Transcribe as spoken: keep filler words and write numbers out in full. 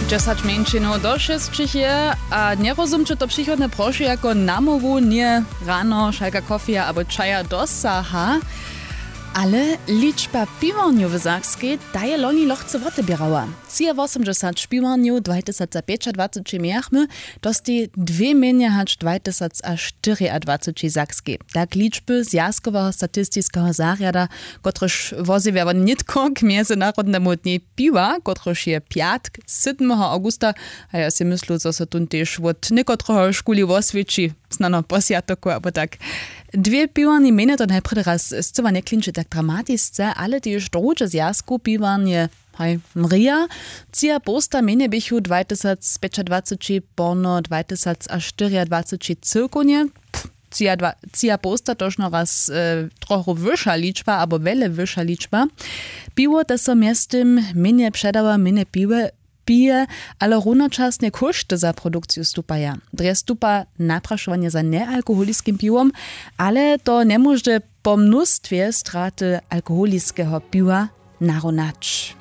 Dźesać mjeńšinow do šesćich je a njerozumće to přichodne prošu jako namołwu njeje rano šalka kofija abo čaja dosaha. Ale ličba piwarnjow w sakskej ta je loni lochce woteběrała. Třiawosomdźesać piwarnjow dwajtysacapjećadwaceći mějachmy, to stej dwě mjenje hač dwajtysacaštyriadwaceći w sakskej, tak ličby zwjazkoweho statistiskeho zarjada, kotryž wozjewja won nětko k mjezynarodnemu dnjej piwa kotryž je pjatk sydmeho awgusta. A ja sej myslu zo so tón tež wot někotrehož kuli woswěći, snano po swjatoku abo tak. Dwě piwarni mjenje to najprjedy raz scyła njeklinči tak dramatisce, ale tež druhdźe zwjazkow piwarnje, haj, mrija. Třiapołsta mjenje běchu dwajtysacpjećadwaceći porno dwajtysacaštyriadwaceći cyłkownje. Třiapołsta tožno raz trochu wyša ličba abo wjele wyša ličba. Piwo te so mjeztym mjenje předawa mjenje piwe pije, ale runočasnje kóšty za produkciju stupaja. Drje stupa naprašowanje za njealkoholiskim piwom, ale to njemóždy po mnóstwje straty alkoholiskeho piwa narunać.